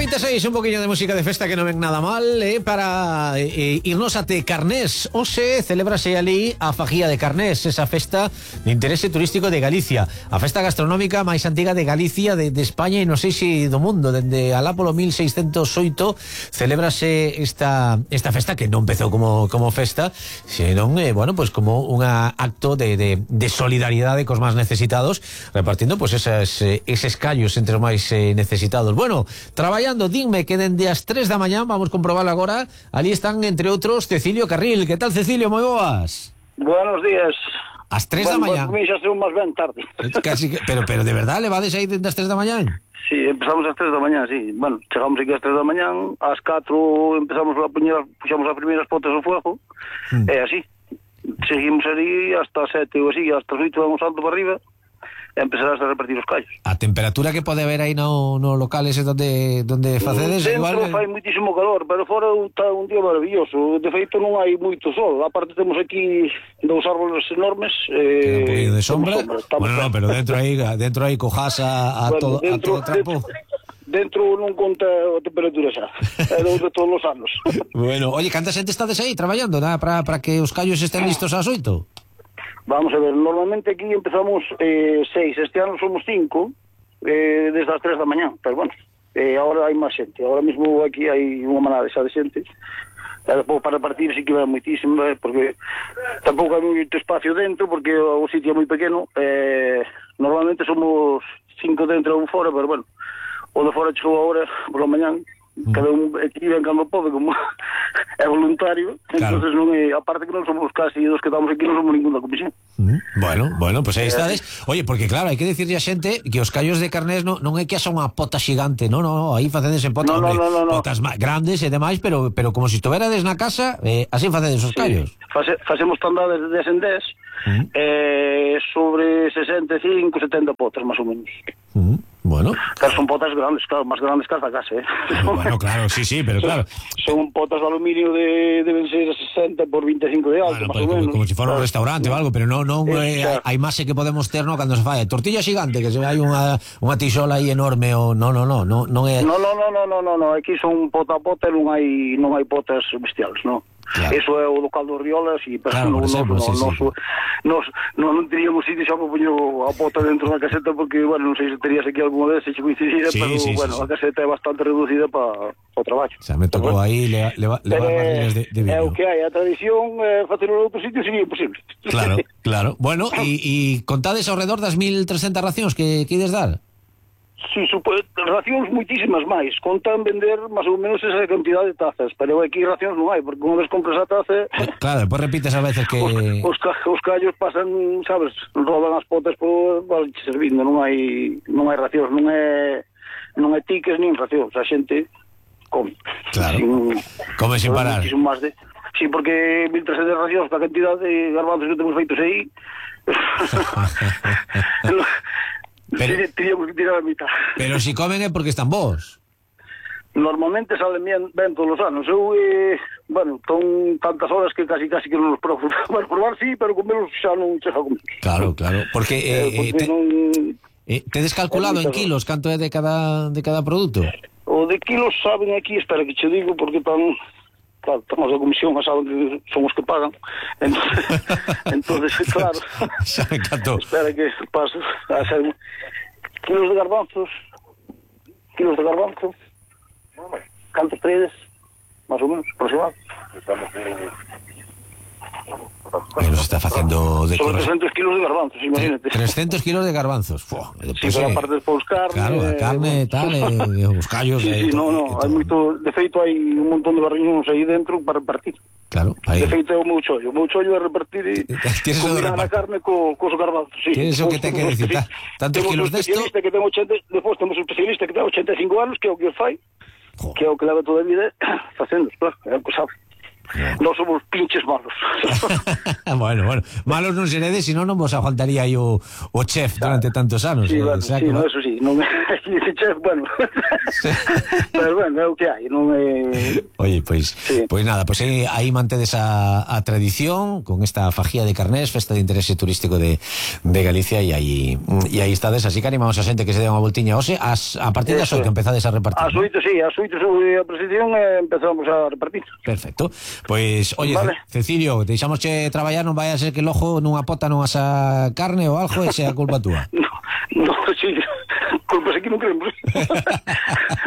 26, un poquinho de música de festa que non ven nada mal, para irnos até Carnés. Hoxe celébrase ali a Fajía de Carnés, esa festa de interese turístico de Galicia, a festa gastronómica máis antiga de Galicia, de España e non sei se do mundo. Dende alá polo 1608 celébrase esta festa que non empezou como festa, senón, pues como un acto de solidaridade cos máis necesitados, repartindo pues eses callos entre os máis necesitados. Bueno, traballando, dime que dende as 3 da mañá, vamos comprobar agora, ali están, entre outros, Cecilio Carril. Que tal, Cecilio? Moi boas. Buenos días. As 3 da mañá. Bueno, xa son máis ben tarde. Casi que, pero de verdade, levades aí dende as 3 da mañá? Sí, empezamos ás 3 da mañá, sí. Bueno, chegamos aquí ás 3 da mañá, ás 4 empezamos puxamos as primeiras potes ao fuego, e así. Seguimos ali hasta 7 ou así, hasta as 8 vamos alto para arriba, e empezarás a repartir os callos. A temperatura que pode haber aí no local ese donde facedes dentro igual... fai muitísimo calor, pero fora está un día maravilloso. De feito non hai moito sol. Aparte temos aquí dous árboles enormes, un poquinho de sombra. Bueno, no, pero dentro aí cojas a todo trapo. Dentro non conta a temperatura xa. É de todos os anos. Bueno, oye, canta xente estades aí traballando, nada, para que os callos estén listos ás 8? Vamos a ver, normalmente aquí empezamos 6, este ano somos 5, desde as 3 da mañá, pero bueno, agora hai máis xente, agora mesmo aquí hai unha manada xa de xente, para repartir sí que vai moitísimo, porque tampouco hai moito espacio dentro, porque o sitio é moi pequeno, normalmente somos 5 dentro e un fora, pero bueno, o de fora chegou agora, por la mañá, cada un aquí ven cando pode, como é voluntario, claro. Entonces non é, aparte que non somos casi dos que estamos aquí, non somos ninguna comisión. Bueno, pues aí estades. Oye, porque claro, hai que dicirlle a xente que os callos de Carnés non é que haxa unha pota xigante, no, aí facedes en potas, potas grandes e demais, pero como se estuverades na casa, así facedes os callos. Facemos tandades de 10 en 10, sobre 65, 70 potas, máis ou menos. Bueno. Claro, son potas grandes, claro, máis grandes que as da casa, Bueno, claro, sí, pero claro. Son potas de aluminio deben ser 60 por 25 de alto, máis ou menos. Como se fora un restaurante ou algo, pero non hai máis que podemos ter, no, cando se fai tortilla xigante, que se vai unha tisola aí enorme, ou non é... No, aquí son pota a pota, non hai potas bestiales, non. Claro. Eso é o local dos Riolas e claro, non teríamos sitio xa para poñer a pota dentro da caseta, porque, bueno, non sei se terías aquí alguna vez se coincidira, pero, bueno, a caseta é bastante reducida para o traballo. Xa me tocou aí levar barriles de vino. É o que hai, a tradición, facelo en outro sitio sería imposible. Claro. Bueno, e contades ao redor das 1.300 racións que ides dar? Sí, racións moitísimas máis. Contan vender máis ou menos esa cantidad de tazas, pero aquí racións non hai, porque unha vez compras a taza... Claro, depois repites a veces que... Os callos pasan, sabes, rodan as potas por servindo, non hai racións, non é tiques nin racións, a xente come. Claro, come sin parar. Sí, porque 1.300 racións, a cantidad de garbanzos que temos feitos aí... Teríamos que tirar a mitad. Pero si comen é porque están vos. Normalmente salen ben todos os anos. Eu, son tantas horas que casi que non os probo. Bueno, probar sí, pero comelos xa non chega a comer. Claro, porque tedes calculado en kilos canto é de cada produto? O de kilos saben aquí, espera que che digo, porque claro, estamos a comisión, saben que son os que pagan, entonces claro, espera que paso a ser kilos de garbanzos, cantos tredes, máis ou menos, aproximado. Pero se está facendo de... Sobre 300 kilos de garbanzos, imagínate. 300 kilos de garbanzos. Sí, pero aparte despois carne... Claro, a carne, tal, os callos... Sí, hai moito... De feito, hai un montón de barriños aí dentro para repartir. Claro. De feito, é o meu chollo. O meu chollo é repartir e combinar a carne cos garbanzos. Tienes o que ten que decir. Tantos kilos desto... Despois temos un especialista que ten 85 anos, que é o que os fai, que é o que leva toda a vida facendo, claro, é o que sabe. Non somos pinches malos. Bueno, malos non seredes, senón non vos aguantaría aí o chef durante tantos anos. Sí, bueno, sí, no, eso sí, non dice chef, bueno. Sí. Pero bueno, é o que hai, non é... Oye, pois nada, pois aí mantedes a tradición con esta fajía de carnés, festa de interese turístico de Galicia, e aí estades, así que animamos a xente que se dé unha voltiña hoxe a partir das 8 empezades a repartir. Ás 8, sí, ás 8 sobre a presentación empezamos a repartir. Perfecto. Pois, oye, vale. Cecilio, deixámosche traballar, non vai a ser que el ojo nunha pota non asa carne ou algo e sea culpa túa. No, sí, culpas aquí non queremos.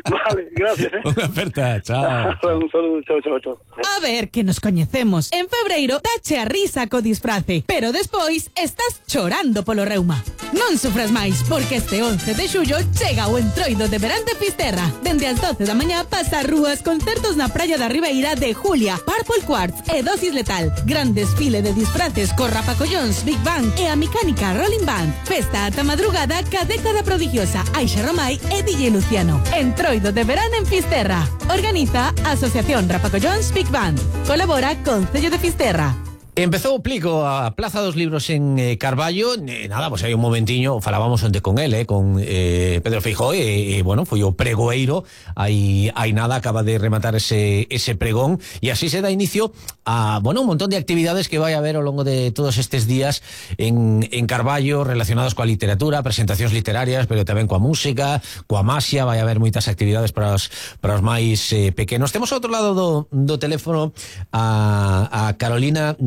Vale, gracias. Unha aperta, chao. Un saludo, chao. A ver, que nos coñecemos. En febreiro dache a risa co disfrace, pero despois estás chorando polo reuma. Non sufras máis, porque este 11 de xullo chega o Entroido de verán de Fisterra. Dende as 12 da mañá pasa rúas concertos na praia da Ribeira de Julia, Purple Quartz e Dosis Letal. Gran desfile de disfraces co Rapacollóns, Big Bang e a mecánica Rolling Band. Festa ata madrugada ca década prodigiosa Aixa Romai e DJ Luciano. Entroido de verán en Fisterra. Organiza Asociación Rapacollóns Big Band. Colabora Concello de Fisterra. Empezou o plico a Plaza dos Libros en Carballo, nada, pois hai un momentiño, falábamos onte con el, con Pedro Feijóo, e bueno, foi o pregoeiro, hai nada, acaba de rematar ese pregón, e así se dá inicio a, bueno, un montón de actividades que vai haber ao longo de todos estes días en Carballo, relacionados coa literatura, presentacións literarias, pero tamén coa música, coa maxia, vai haber moitas actividades para os máis pequenos. Temos ao outro lado do teléfono a Carolina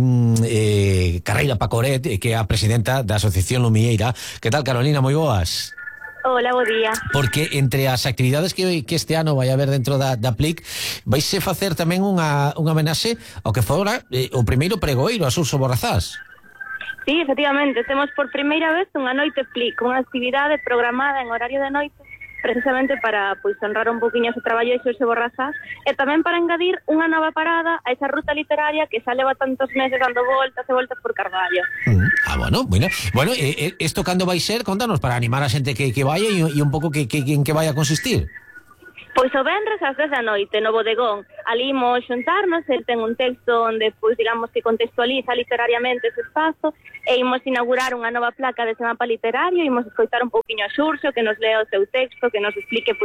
Carreira Pacoret, que é a presidenta da Asociación Lumieira. Que tal, Carolina? Moi boas. Hola, bo día. Porque entre as actividades que este ano vai haber dentro da PLIC, vaise facer tamén unha homenaxe ao que fora o primeiro pregoeiro, a Suso Borrazás. Sí, efectivamente, temos por primeira vez unha noite PLIC, unha actividade programada en horario de noite, precisamente para honrar un poquinho o traballo de Xosé Borrazás, e tamén para engadir unha nova parada a esa ruta literaria que xa leva tantos meses dando voltas e voltas por Carballo. Bueno, isto cando vai ser? Contanos, para animar a xente que vaya e un pouco en que vai a consistir. Pois o venres ás 10 da noite no bodegón, ali imos xuntarnos, el ten un texto onde, digamos que contextualiza literariamente ese espazo, e imos inaugurar unha nova placa de mapa literario, imos escoitar un pouquiño a Xurxo, que nos lea o seu texto, que nos explique,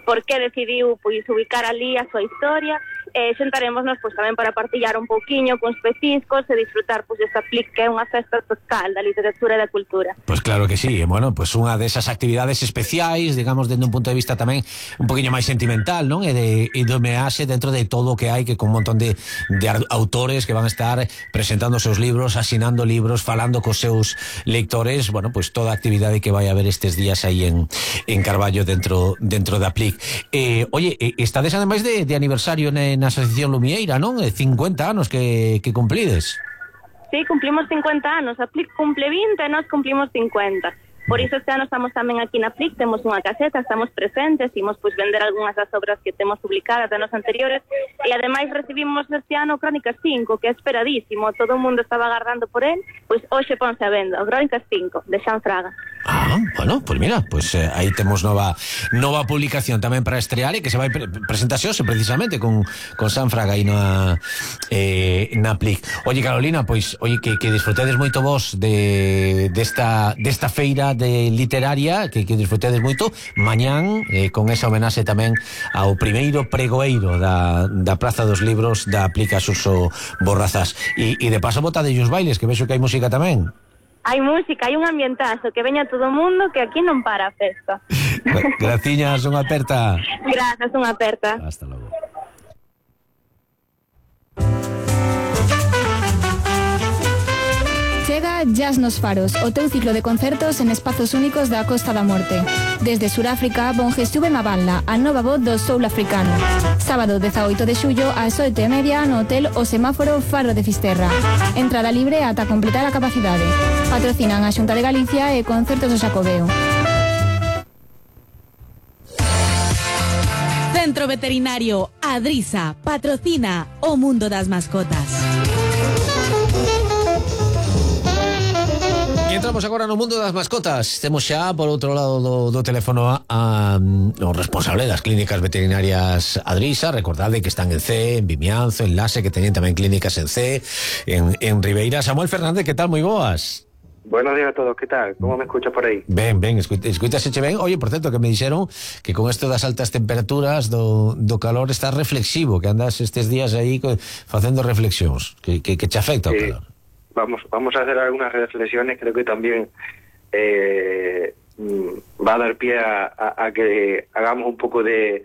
por que decidiu, ubicar ali a súa historia, e xuntarémonos, tamén para partillar un pouquiño cuns petiscos e disfrutar, esta PLIC, que é unha festa total da literatura e da cultura. Pois claro que sí, bueno, unha desas actividades especiais, digamos, dende un punto de vista tamén un poquinho máis sentimental, non? E de homenaxe dentro de todo o que hai, que con un montón de autores que van a estar presentando os seus libros, asinando libros, falando cos seus lectores, bueno, toda a actividade que vai haber estes días aí en Carballo dentro da PLIC. Oye, estades ademais de aniversario na Asociación Lumieira, non? 50 anos que cumplides. Sí, cumplimos 50 anos, a PLIC cumple 20 e nós cumplimos 50. Por iso este ano estamos tamén aquí na PLIC, temos unha caseta, estamos presentes, imos vender algunhas das obras que temos publicadas de anos anteriores, e ademais recibimos este ano Crónicas 5, que é esperadísimo, todo o mundo estaba agardando por él, hoxe ponse a venda, o Crónicas 5, de Xan Fraga. Bueno, mira, aí temos nova publicación tamén para estrear, e que se vai presentar hoxe precisamente con Xan Fraga aí na PLIC. Oye, Carolina, que disfrutedes moito vos desta feira de literaria, que disfrutedes moito mañán, con esa homenaxe tamén ao primeiro pregoeiro da Praza dos Libros da PLIC a Suso Borrazás, e de paso botade os bailes, que vexo que hai música tamén. Hai música, hai un ambientazo, que veña todo o mundo, que aquí non para a festa. Graciñas, unha aperta. Grazas, unha aperta. Hasta logo. Chega Jazz nos Faros, o teu ciclo de concertos en espazos únicos da Costa da Morte. Desde Suráfrica, Bonjestuve Maballa, a nova voz do soul africano. Sábado 18 de xullo ás 8:30 no Hotel O Semáforo Faro de Fisterra. Entrada libre ata completar a capacidade. Patrocinan a Xunta de Galicia e Concertos do Xacobeo. Centro Veterinario Adrisa patrocina o mundo das mascotas. entramos agora no mundo das mascotas. Temos xa, por outro lado do teléfono, o responsable das clínicas veterinarias Adrisa. Recordade que están en C, en Vimianzo, en Lase, que teñen tamén clínicas en C, en Ribeira. Samuel Fernández, que tal? Moi boas. Buenos días a todos, ¿qué tal? ¿Cómo me escuchas por aí? Ben, escuitaseche ben. Oye, por certo, que me dixeron que con esto das altas temperaturas do calor estás reflexivo, que andas estes días aí facendo reflexións, que te afecta o calor. Vamos a hacer algunas reflexiones, creo que también va a dar pie a que hagamos un poco de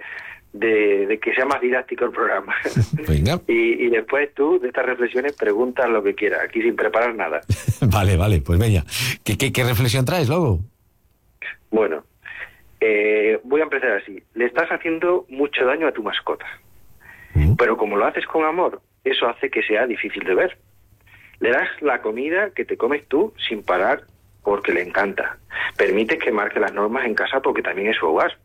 que sea más didáctico el programa. Venga. Y después tú, de estas reflexiones, preguntas lo que quieras, aquí sin preparar nada. Vale, pues venga. ¿Qué reflexión traes, luego? Bueno, voy a empezar así. Le estás haciendo mucho daño a tu mascota. Pero como lo haces con amor, eso hace que sea difícil de ver. Le das la comida que te comes tú sin parar porque le encanta. Permites que marque las normas en casa porque también es su hogar.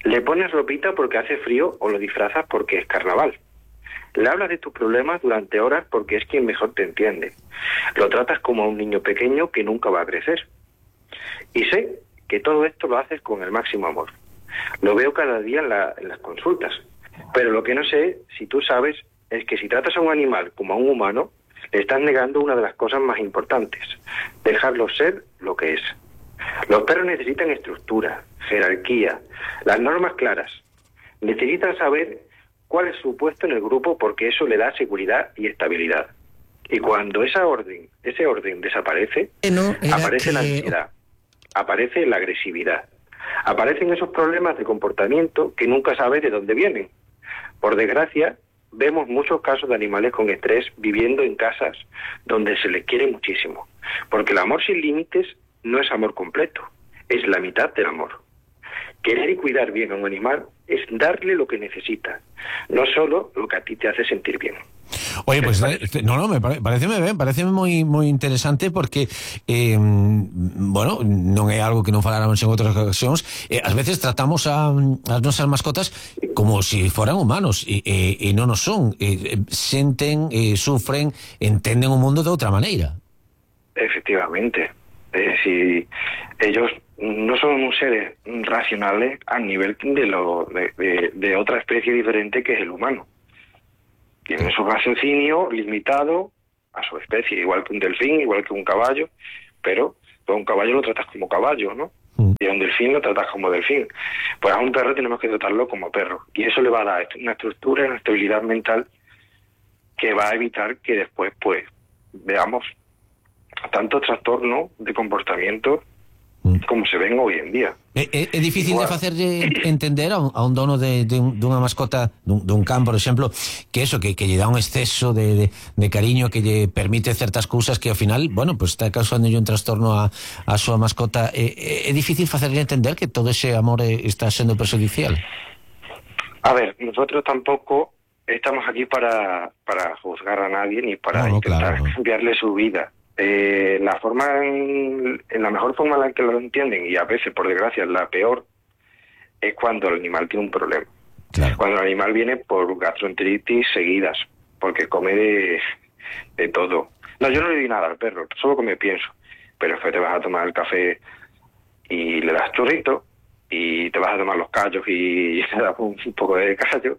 Le pones ropita porque hace frío o lo disfrazas porque es carnaval. Le hablas de tus problemas durante horas porque es quien mejor te entiende. Lo tratas como a un niño pequeño que nunca va a crecer. Y sé que todo esto lo haces con el máximo amor. Lo veo cada día en las consultas. Pero lo que no sé, si tú sabes, es que si tratas a un animal como a un humano, le estás negando una de las cosas más importantes, dejarlo ser lo que es. Los perros necesitan estructura, jerarquía, las normas claras. Necesitan saber cuál es su puesto en el grupo porque eso le da seguridad y estabilidad. Y cuando ese orden desaparece, aparece la ansiedad, aparece la agresividad, aparecen esos problemas de comportamiento que nunca sabes de dónde vienen. Por desgracia, vemos muchos casos de animales con estrés viviendo en casas donde se les quiere muchísimo. Porque el amor sin límites no es amor completo, es la mitad del amor. Querer y cuidar bien a un animal es darle lo que necesita, no solo lo que a ti te hace sentir bien. Oye, pues parece moi interesante porque bueno, non é algo que non faláramos en outras ocasións. Ás veces tratamos as nosas mascotas como si foran humanos e non o son. Senten, sufren, entenden o mundo de outra maneira. Efectivamente. Si ellos no son seres racionales a nivel de otra especie diferente que es el humano. Tienen su raciocinio limitado a su especie, igual que un delfín, igual que un caballo, pero a un caballo lo tratas como caballo, ¿no? Y a un delfín lo tratas como delfín. Pues a un perro tenemos que tratarlo como perro. Y eso le va a dar una estructura, una estabilidad mental que va a evitar que después, pues, veamos tanto trastorno de comportamiento como se ven hoy en día. É difícil de facerlle entender a un dono dunha mascota, dun can, por exemplo, que eso, que lle dá un exceso de cariño, que lle permite certas cousas que ao final, bueno, pues está causando un trastorno a súa mascota. É difícil facerlle entender que todo ese amor está sendo perjudicial. A ver, nosotros tampoco estamos aquí para juzgar a nadie ni para intentar cambiarle su vida. La forma en la mejor forma en la que lo entienden, y a veces por desgracia la peor, es cuando el animal tiene un problema. Claro. Cuando el animal viene por gastroenteritis seguidas, porque come de todo. No, yo no le di nada al perro, solo come pienso. Pero después te vas a tomar el café y le das churrito, y te vas a tomar los callos y le das un poco de callo,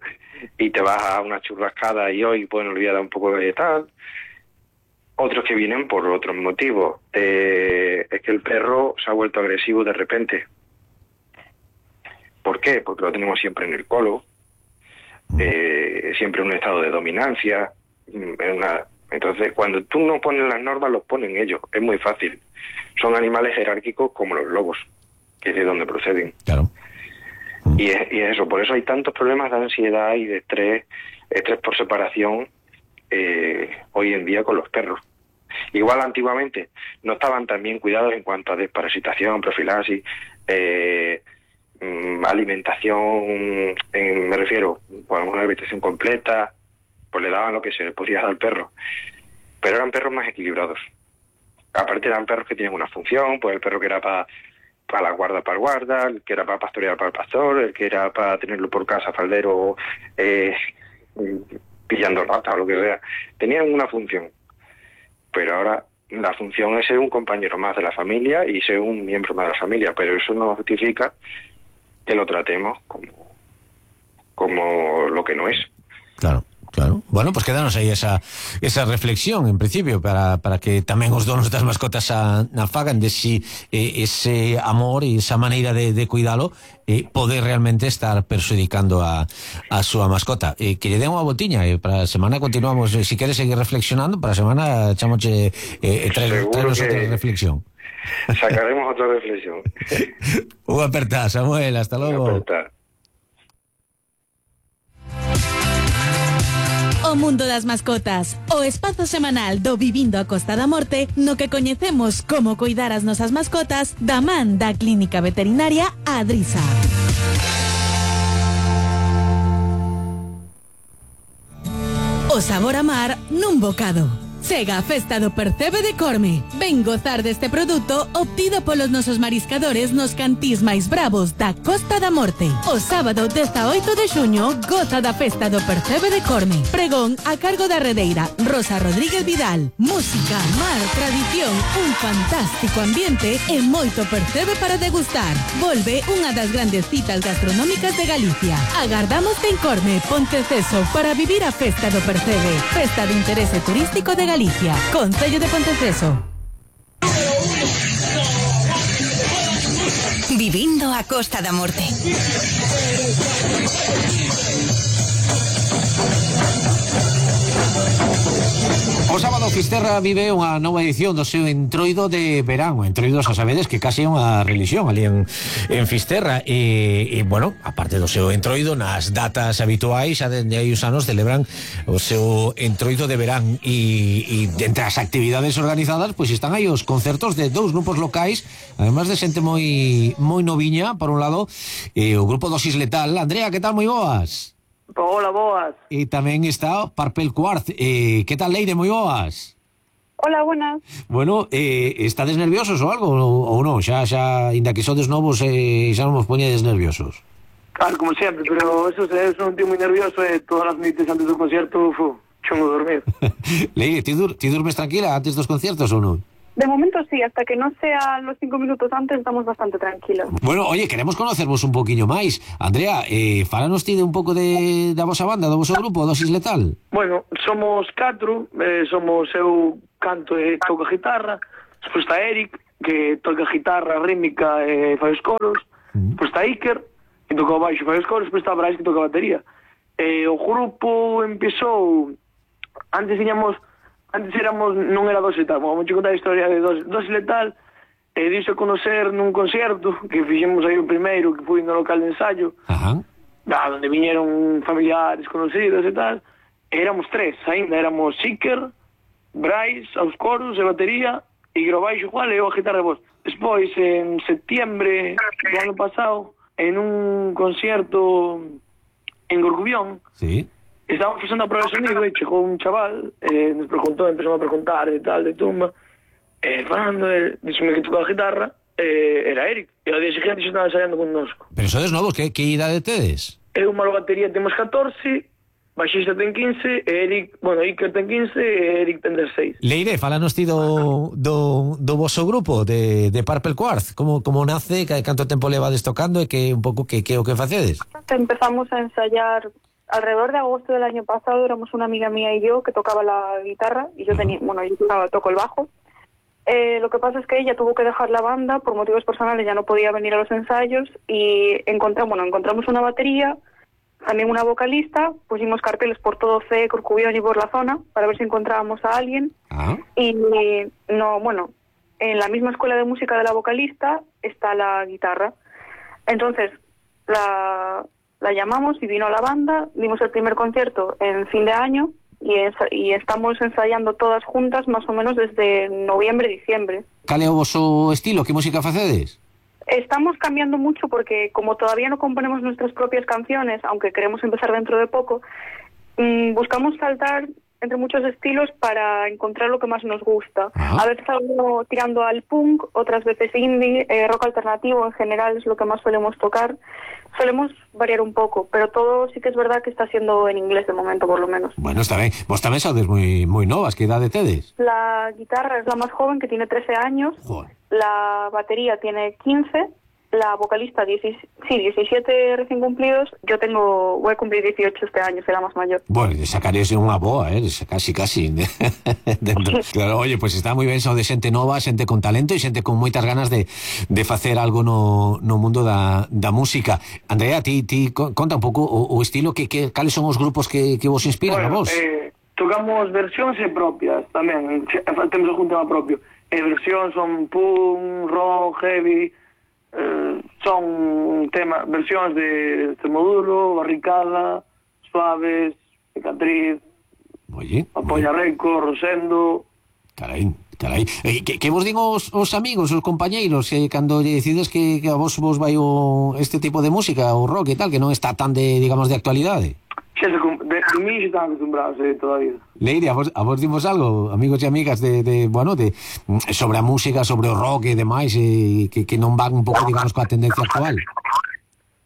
y te vas a una churrascada y hoy, bueno, le voy a dar un poco de tal. Otros que vienen por otros motivos. Es que el perro se ha vuelto agresivo de repente. ¿Por qué? Porque lo tenemos siempre en el colo, siempre en un estado de dominancia. Entonces, cuando tú no pones las normas, los ponen ellos. Es muy fácil. Son animales jerárquicos como los lobos, que es de donde proceden. Claro. Y es eso. Por eso hay tantos problemas de ansiedad y de estrés por separación, hoy en día con los perros. Igual antiguamente no estaban tan bien cuidados en cuanto a desparasitación, profilaxis, alimentación, me refiero, por una alimentación completa, pues le daban lo que se le podía dar al perro. Pero eran perros más equilibrados. Aparte eran perros que tenían una función, pues el perro que era para la guarda para el guarda, el que era para pastorear para el pastor, el que era para tenerlo por casa faldero, pillando ratas o lo que sea. Tenían una función. Pero ahora la función es ser un compañero más de la familia y ser un miembro más de la familia, pero eso no justifica que lo tratemos como lo que no es. Claro. Bueno, pues quedanos aí esa reflexión, en principio, para que tamén os donos das mascotas fagan de si ese amor e esa maneira de cuidalo poder realmente estar perxudicando a súa mascota. Que lle den unha voltiña, para a semana continuamos, si queres seguir reflexionando, para a semana chamoche traemos outra reflexión. Sacaremos outra reflexión. Unha aperta, Samuel, hasta logo. O mundo das mascotas, o espazo semanal do Vivindo a Costa da Morte, no que coñecemos como coidar as nosas mascotas da man da Clínica Veterinaria Adrisa. O sabor a mar nun bocado. Chega a festa do Percebe de Corme. Ven gozar deste produto obtido polos nosos mariscadores nos cantís máis bravos da Costa da Morte. O sábado 18 de xuño goza da festa do Percebe de Corme. Pregón a cargo da redeira Rosa Rodríguez Vidal. Música, mar, tradición, un fantástico ambiente e moito percebe para degustar. Volve unha das grandes citas gastronómicas de Galicia. Agardámoste en Corme, Ponteceso, para vivir a festa do Percebe. Festa de interese turístico de Galicia, Concello de Ponteceso. Vivindo a Costa da Morte. O sábado Fisterra vive unha nova edición do seu entroido de verán. O entroido, xa sabedes que casi é unha religión ali en Fisterra e bueno, aparte do seu entroido, nas datas habituais xa dende hai uns anos celebran o seu entroido de verán e entre as actividades organizadas pois están aí os concertos de dous grupos locais, además de xente moi noviña, por un lado, o grupo Dosis Letal. Andrea, que tal? Moi boas. Hola, boas. E tamén está Purple Quartz. Que tal, Leire? Moi boas. Hola, buenas. Bueno, estades nerviosos ou algo ou non? Xa, inda que sodes novos, xa non vos poñedes nerviosos? Claro, como sempre, pero eso é un tío moi nervioso e todas as noites antes do concerto chungo dormir. Leire, ti durmes tranquila antes dos conciertos ou non? De momento sí, hasta que no sea los 5 minutos antes estamos bastante tranquilos. Bueno, oye, queremos conocervos un poquinho máis. Andrea, fálanos ti de un pouco da vosa banda, do voso grupo, Dosis Letal. Bueno, somos 4, somos eu canto e toco a guitarra, despois está Eric, que toca a guitarra rítmica e fai os coros, despois está Iker, que toca o baixo e fai os coros, despois está Brais, que toca a batería. O grupo empezou, antes éramos, non era Dosis Letal, vamos a contar a historia de Dosis Letal, diso a conocer nun concierto que fixemos aí o primeiro, que foi no local de ensayo, donde viñeron familiares conocidos e tal, éramos 3, ainda éramos Iker, Brais, aos coros e batería, e o baixo igual e o a guitarra e voz. Despois, en septiembre do ano pasado, en un concierto en Gorgubión, sí, estábamos facendo a prueba de sonido e chegou un chaval, nos preguntou, empezou a preguntar e tal, de tumba, falando, díxome que tocaba a guitarra, era Eric, e ao día seguinte estaba ensaiando con nosco. Pero sodes novos, que idade tedes? Eu, malo batería, temos 14, baixista ten 15, Iker ten 15 e Eric ten 16. Leire, fálanos ti do voso grupo, de Purple Quartz, como nace, canto tempo levades tocando e que un pouco que o que facedes? Empezamos a ensayar alrededor de agosto del año pasado. Éramos una amiga mía y yo que tocaba la guitarra y yo toco el bajo. Lo que pasa es que ella tuvo que dejar la banda por motivos personales, ya no podía venir a los ensayos y encontramos una batería, también una vocalista, pusimos carteles por todo C, Corcubión y por la zona para ver si encontrábamos a alguien. Y en la misma escuela de música de la vocalista está la guitarra. Entonces la llamamos y vino a la banda, dimos el primer concierto en fin de año y estamos ensayando todas juntas más o menos desde noviembre, diciembre. Cal é o voso estilo? Que música facedes? Estamos cambiando mucho porque como todavía no componemos nuestras propias canciones, aunque queremos empezar dentro de poco, buscamos saltar entre muchos estilos para encontrar lo que más nos gusta. Ajá. A veces algo tirando al punk, otras veces indie, rock alternativo en general es lo que más solemos tocar. Solemos variar un poco, pero todo sí que es verdad que está siendo en inglés de momento, por lo menos. Bueno, está ben. Vos tamén sodes moi novas, que idade tedes? La guitarra es la más joven, que tiene 13 años. Joder. La batería tiene 15. La vocalista, 17 recién cumplidos. Yo voy a cumplir 18 este año, será más mayor. Bueno, sacaréis unha boa, casi. Dentro. Claro, oye, pues está moi ben, de xente nova, xente con talento e xente con moitas ganas de facer algo no mundo da música. Andrea, ti conta un pouco o estilo, cales son os grupos que vos inspiran a vos? Tocamos versións e propias tamén, temos algún tema propio. Versións son punk, rock, heavy, son versións de Extremoduro, Barricada, Suaves, Cicatriz, Apoya Reco, Rosendo. Carai. Que vos din os amigos, os compañeiros, cando decides que a vos vai este tipo de música, o rock e tal, que non está tan de actualidade? De mí se están acostumbrados toda a vida. Leire, a vos dimos algo, amigos e amigas, sobre a música, sobre o rock e demais, que non van un pouco, digamos, coa tendencia actual?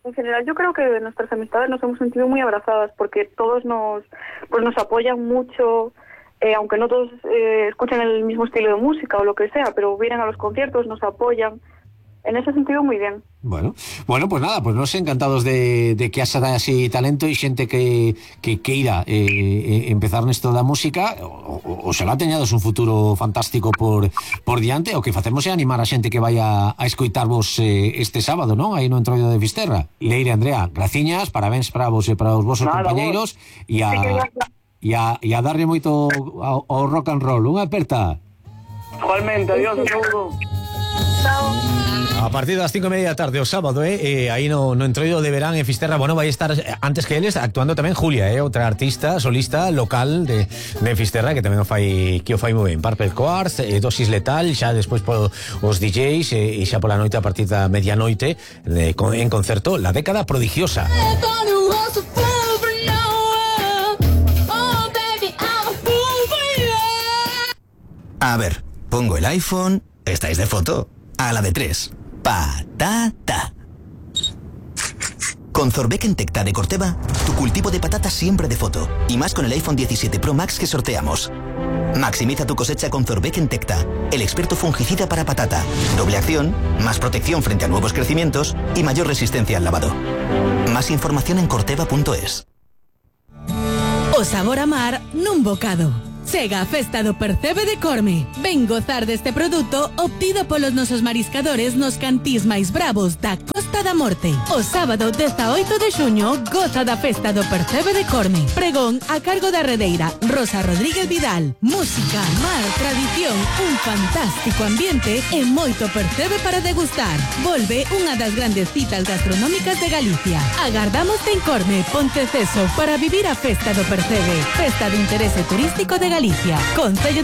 En general, yo creo que nuestras amistades nos hemos sentido muy abrazadas porque todos nos apoyan mucho, aunque no todos escuchan el mismo estilo de música o lo que sea, pero vienen a los conciertos, nos apoyan. En ese sentido, muy bien. Bueno, pues nada, pues nos encantados de que haxa así talento e xente que queira empezar nesto da música, o será teñados un futuro fantástico por diante. O que facemos é animar a xente que vai a escoitarvos este sábado, non? Aí no Entroido de Fisterra. Leire, Andrea, graciñas, parabéns para vos e para os vosos compañeiros e a darlle moito ao rock and roll. Unha aperta. Igualmente, adiós, saludo. A partir das 5:30 da tarde o sábado, aí no Entroido de Verán en Fisterra, bueno, vai estar antes que eles actuando tamén Julia, outra artista solista local de Fisterra que tamén o fai moi ben. Purple Quartz, Dosis Letal, xa despois os DJs e xa pola noite a partir da medianoite en concerto La Década Prodigiosa. A ver, pongo el iPhone, estáis de foto, a la de 3. Patata. Con Zorbeck en Tecta de Corteva, tu cultivo de patatas siempre de foto. Y más con el iPhone 17 Pro Max que sorteamos. Maximiza tu cosecha con Zorbeck en Tecta, el experto fungicida para patata. Doble acción, más protección frente a nuevos crecimientos y mayor resistencia al lavado. Más información en corteva.es. O sabor a mar nun bocado. Chega a festa do Percebe de Corme. Ven gozar deste produto obtido polos nosos mariscadores nos cantís máis bravos da Costa da Morte. O sábado 18 de xuño goza da festa do Percebe de Corme. Pregón a cargo da redeira Rosa Rodríguez Vidal. Música, mar, tradición, un fantástico ambiente e moito percebe para degustar. Volve unha das grandes citas gastronómicas de Galicia. Agardámoste en Corme, Ponteceso, para vivir a festa do Percebe. Festa de interese turístico de Galicia. Concello